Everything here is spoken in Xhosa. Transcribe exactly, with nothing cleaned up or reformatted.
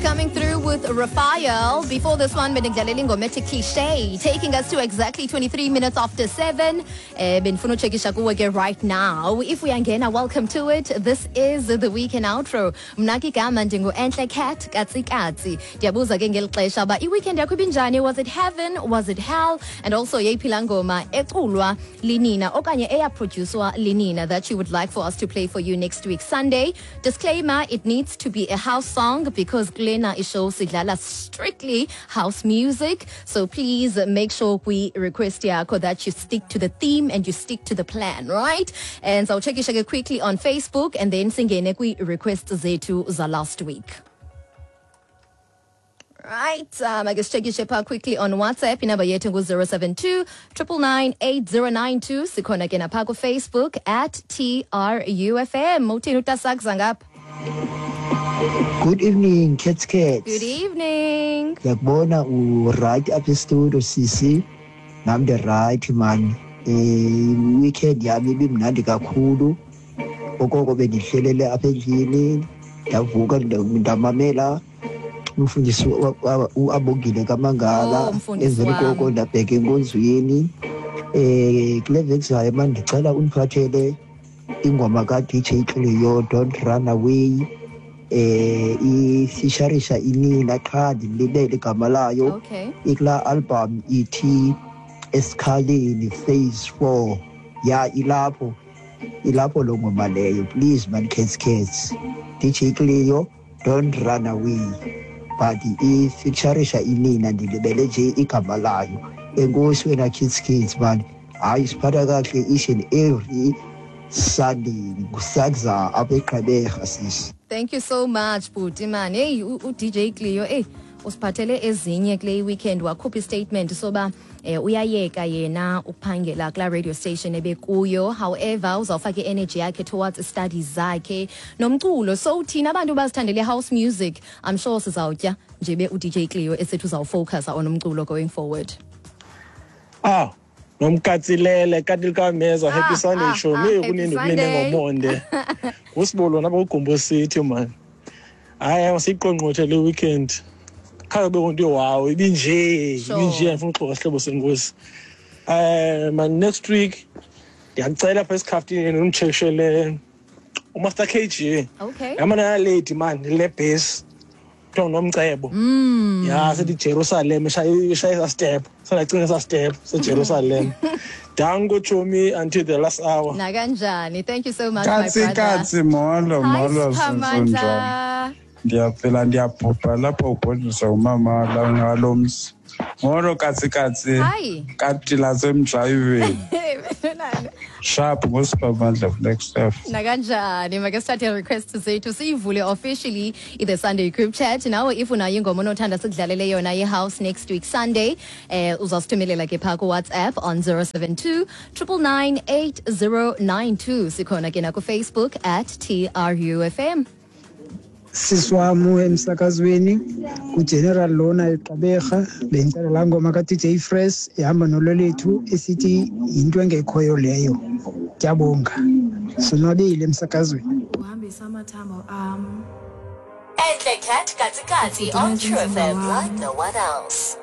Coming through with Raphael. Before this one, bendikudlalela ingoma ethi Cliche, taking us to exactly twenty-three minutes after seven. Eh, bendifuna utshekisha kuwe ke right now. If uyangena, welcome to it. This is the weekend outro. Mna ke igama ndingu-Entle Cat Katsikatsi. Ndiyabuza ke ngeli xesha uba i-weekend yakho ibinjani? Was it heaven? Was it hell? And also yeyiphi laa ngoma eculwa linina okanye eyaprodyuswa linina that you would like for us to play for you next week Sunday? Disclaimer, it needs to be a house song because kulena ishow sidlala strictly house music. So please make sure we request yakho that you stick to the theme and you stick to the plan, right? And so check ke quickly on Facebook and then singene kwi-requests zethu za last week. Right, um, I guess check pha quickly on WhatsApp. Inamba yethu ngu zero seven two nine nine nine eight zero nine two. Sikhona ke napha ku-Facebook at T R U F M. Uthini utasakza ngapha? Good evening, Cats Cats. Good evening. Ngiyakubona u-right apha e-studio, sisi. Nam ndi-right, man. Eh weekend yami ibimnandi kakhulu. Okoko bendihlelele apha endlini, ndavuka, ndamamela umfundisi uAbongile kaMangala. Oh, mfundisi Emveni koko wam. Ndabheka enkonzweni. Eh kule veki zayo, man, ndicela undiphathele ingoma ka-D J Cleo, "Don't Run Away", eh ifisharisha inina, qha ndilibele igama layo. Okay. Ikulaa album ithi Esikhaleni Phase four. Ya, ilapho ilapho loo ngoma leyo. Please, man, Cats Cats, D J Cleo, "Don't Run Away", but ifeaturisha inina, ndilibele nje igama layo. Enkosi wena, Kids Kids, man. Hayi, siphatha kakuhle each and every Sunday. Ngusakza apha eGqeberha, sisi. Thank you so much, bhuti, man. Hey, u D J Cleo, hey, usiphathele ezinye kule weekend. Wakhupha istatement soba eh, uyayeka yena ukuphangela kulaa radio station ebekuyo, however uzawufaka i-energy yakhe towards studies zakhe nomculo. So thina abantu bazithandele house music, I'm sure sizawutya njebe u D J Cleo esithi uzawufocusa on umculo going forward. Ah, nomkatsilele kati likameza. Happy Ah, Sunday. ah, Show ah, me happy kunini Sunday. kunene ngomonde ngusibolo napa kuGumbo City, man. Hayi, siyiqongqothe le weekend, khange kube nto. Wow, ibinje. Sure. Ibinje, andifuna uxoka, sihlobo senkosi. um man, next week ndiyakucela apha esikhaftineni unditshekishele uMaster K G. Okay. Yamana lady, man, le bass kuthiwa nguNomcebo. Mm. Ya, sithi Jerusalem, ishaya esa step, sandacinga esa step seJerusalem. Danko tshomi, until the last hour. Nakanjani, thank you so much, my Katsi brother. katsi, molo. Hi. Molo, sinjani? Siphamandla. Ndiyaphila, ndiyabhubha lapho ubhodliswa umama ngalo mzi. Molo, katsi katsi. Hi. Kati lasemjayiveni. Sharp, ngusiphamandla Flagstaff. Nakanjani, make sithathe request zethu siyivule officially i-the Sunday group chat. Nawe if unayo ingoma onothanda sikudlalele yona ye-house next week Sunday, eh uzasithumelela ke phaa kuWhatsApp on zero seven two nine nine nine eight zero nine two. Sikhona ke nakuFacebook at T R U F M. Sisi wam emsakazweni, kuGeneral lona eGqeberha, bendicela laa ngoma ka-D J Fresh ihamba nololethu esithi "Yinto Engekhoyo Leyo". Ndiyabonga, sonwabile emsakazweni. Uhambisa amathambo am. Entle Cat Katsi Katsi on True F M like no one else.